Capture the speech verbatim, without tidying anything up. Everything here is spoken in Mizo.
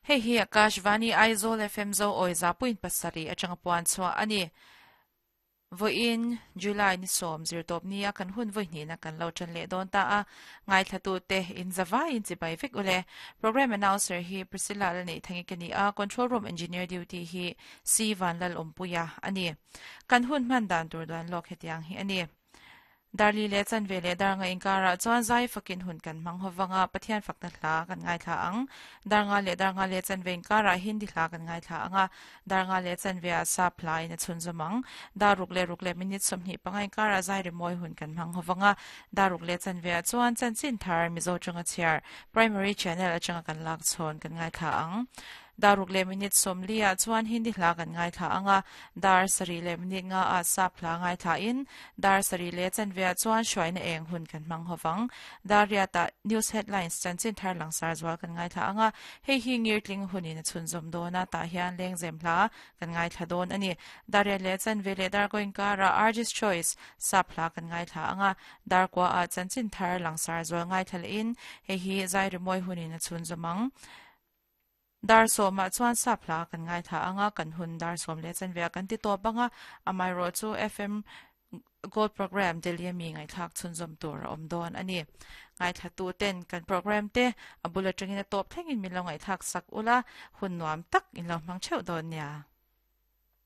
Hei hi Akashvani Aizawl F M zo awi za point pasarih atanga puan chhuah a ni. Vawiin July ni sawm zirtawp nia kan hun vawi hnihna kan lo tan leh dawn ta a, ngaithlatute in zavaiin chibai vek ule. Program announcer hi Priscilla la nei thangi ka ni a, control room engineer duty hi C Vanlal Awmpuia a ni. Kan hun hman dan tur duan lawk hetiang hi a ni. Darli leh chanve leh dar nga inkarah chuan zai fakin hun kan hmang hovanga Pathian fakna hla kan ngaithla ang. Dar nga leh dar nga leh chanve inkarah Hindi hla kan ngaithla anga, dar nga leh chanve ah sap hla in a chhunzawm ang. Dar ruk leh ruk leh minute sawmhnih panga inkarah zai rimawi hun kan hmang hovanga, dar ruk leh chanve ah chuan chanchin thar Mizo tanga chhiar Primary Channel atanga kan lak chhawn kan ngaithla ang. Dar ruk leh minute sawmli ah chuan Hindi hla kan ngaithla anga, dar sarih leh minute nga ah sap hla ngaithla in dar sarih leh chanve ah chuan hruaina eng hun kan hmang hovang. Dar riat ah news headlines chanchin thar langsar zual kan ngaithla anga, hei hi ngirtling hunin a chhunzawm dawn a, tah hian lengzem hla kan ngaithla dawn a ni. Dar riat leh chanve leh dar kaw inkar ah Artist Choice sap hla kan ngaithla anga, dar kua ah chanchin thar langsar zual ngaithla leh in hei hi zai rimawi hunin a chhunzawm ang. Dar sawmah chuan sap hla kan ngaithla anga, kan hun dar sawm leh chanve ah kan ti tawp anga, amaherawh chu F M Gold Program Delhi ami ngaihthlak chhunzawm tur a awm dawn a ni. Ngaithlatu ten kan program te a bul atangin a tawp thlengin min lo ngaihthlak sak ula, hun nuam tak in lo hmang theuh dawn nia.